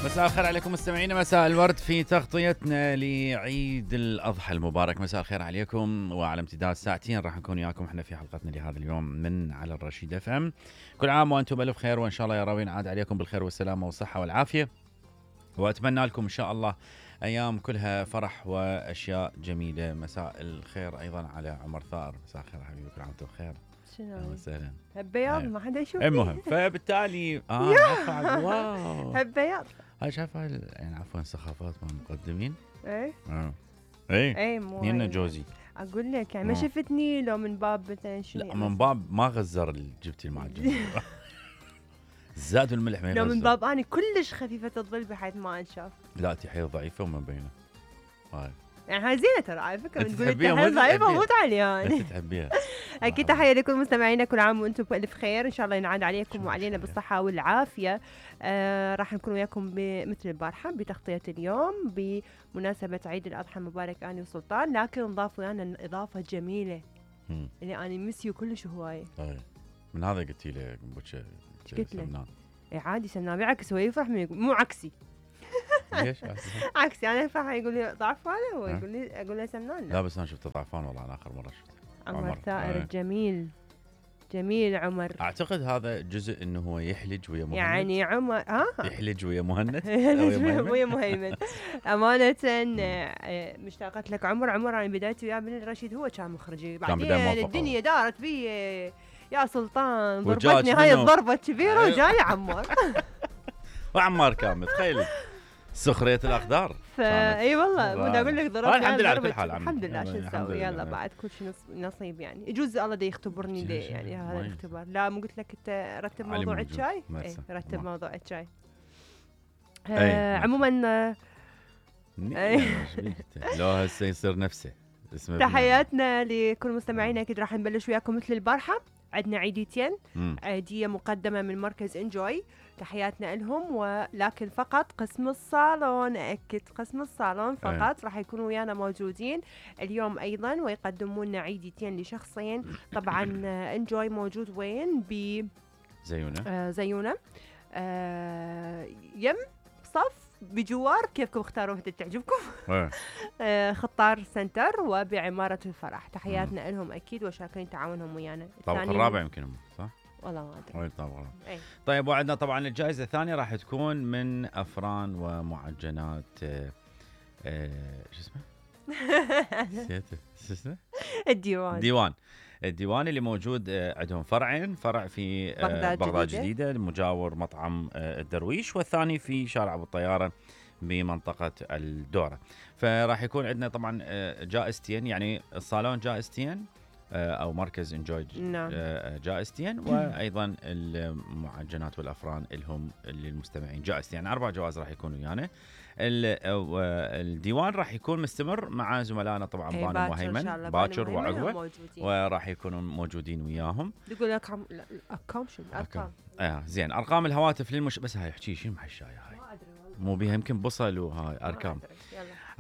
مساء الخير عليكم مستمعينا، مساء الورد في تغطيتنا لعيد الأضحى المبارك. مساء الخير عليكم، وعلى امتداد ساعتين راح نكون وياكم احنا في حلقتنا لهذا اليوم من على الرشيد اف ام. كل عام وانتم بألف خير، وان شاء الله يا رب ينعاد عليكم بالخير والسلامة والصحة والعافية، واتمنى لكم ان شاء الله ايام كلها فرح واشياء جميلة. مساء الخير ايضا على عمر ثائر، مساء الخير حبيبي، كل عام وانتم بخير. شنو؟ اهلا وسهلا. هالبياض ما حدا يشوف. المهم فبالتالي واو هالبياض هاي شايف هاي يعني عفوا سخافات من المقدمين. ايه ايه مو نينا جوزي. اقول لك يعني ما شفتني لو من باب مثلا شنو؟ لا من باب ما غزر جبتي المعجون. الزاد والملح ما يغزر. لو من باب اني كلش خفيفه الظل بحيث ما انشاف. لا انت حيل ضعيفه وما مبينه. هاي يعني هاي زينه ترى على فكره، انت تقول انت تحبيها حيل ضعيفه وموت عليها انت تحبيها. اكيد تحيه لكل مستمعينا، كل عام وانتم بالف خير، ان شاء الله ينعاد عليكم وعلينا بالصحه والعافيه. راح نكون وياكم مثل البارحه بتغطيه اليوم بمناسبه عيد الاضحى المبارك اني وسلطان، لكن نضاف ويانا اضافه جميله اللي اني مسيو كلش هوايه. من هذا قلتي له بوتشه قلت له اي عادي سمنان بيعكس، هو يفرح من يقول مو عكسي. ليش عكسي انا افرح يقول لي ضعفان، هو يقول لي اقول له سمنان. لا بس انا شفته ضعفان والله، انا اخر مره شفته عمر ثائر الجميل، جميل عمر. اعتقد هذا جزء انه هو يحلج ويا مهند، يعني عمر يحلج ويا مهند ويا مهيمن. امانه مشتاقت لك عمر انا بدايتي وياه من الرشيد، هو كان مخرجي، بعدين الدنيا دارت بي يا سلطان، ضربتني هاي الضربه الكبيره وجاي عمار. وعمار كامل تخيلي سخريه الاقدار. اي والله بدي اقول لك ضربت الحمد لله على كل حال. الحمد لله، شو نسوي، يلا بعد كل شيء نصيب يعني. يجوز الله دا يختبرني ليه يعني هذا الاختبار. لا مو قلت لك انت رتب موضوع الشاي؟ اي رتب موضوع الشاي. عموما لو هسه يصير نفسه. تحياتنا لكل مستمعينا، اكيد راح نبلش وياكم مثل البارحه. عندنا عيديتين، عيديه مقدمه من مركز انجوي، تحياتنا لهم، ولكن فقط قسم الصالون، أكد قسم الصالون فقط راح يكونوا ويانا موجودين اليوم أيضا، ويقدمون لنا عيديتين لشخصين. طبعا انجوي موجود وين؟ ب زيونة يم صف بجوار، كيفكم اختاروا وحدة تعجبكم. خطار سنتر وبعمارة الفرح. تحياتنا لهم أكيد وشاكرين تعاونهم ويانا. الطابق الرابع يمكن صح؟ والله ما ادري. طيب وعندنا طبعا الجائزه الثانيه راح تكون من افران ومعجنات شو اسمه؟ نسيته شو اسمه؟ الديوان اللي موجود عندهم فرعين، فرع في بغداد جديده مجاور مطعم الدرويش، والثاني في شارع ابو الطياره بمنطقه الدوره. فراح يكون عندنا طبعا جائزتين، يعني الصالون جائزتين او مركز انجوي جائزتين، وايضا المعجنات والافران لهم للمستمعين جائزتين، يعني 4 جوائز راح يكونوا ويانا. الديوان راح يكون مستمر مع زملائنا طبعا بانو وهيمن باكر وعقبه، وراح يكونوا موجودين وياهم. تقول ارقام شنو ارقام؟ زين ارقام الهواتف بس هاي احكي شيء محشايه هاي مو بيها يمكن بصل وهاي ارقام.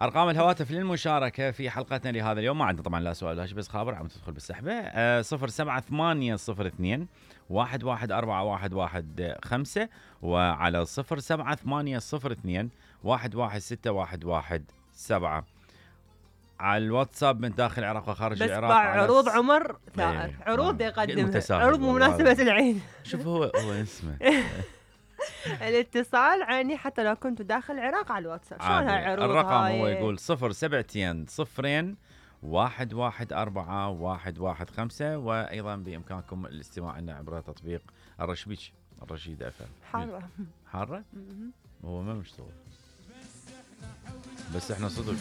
ارقام الهواتف للمشاركه في حلقتنا لهذا اليوم، ما عندنا طبعا لا سؤال لا شيء بس خابر عم تدخل بالسحبه. 07802 114115 وعلى 07802 116117 على الواتساب من داخل العراق وخارج العراق. بس عروض عمر ثائر، عروض يقدمها، عروض بمناسبه العيد. شوف هو اسمه الاتصال عيني حتى لو كنتوا داخل العراق على الواتساب. شلون هاي عروض؟ الرقم هو يقول 072 114115 وايضا بامكانكم الاستماع لنا عبر تطبيق الرشيد اف ام. حاره هو ما مشتغل بس احنا صدق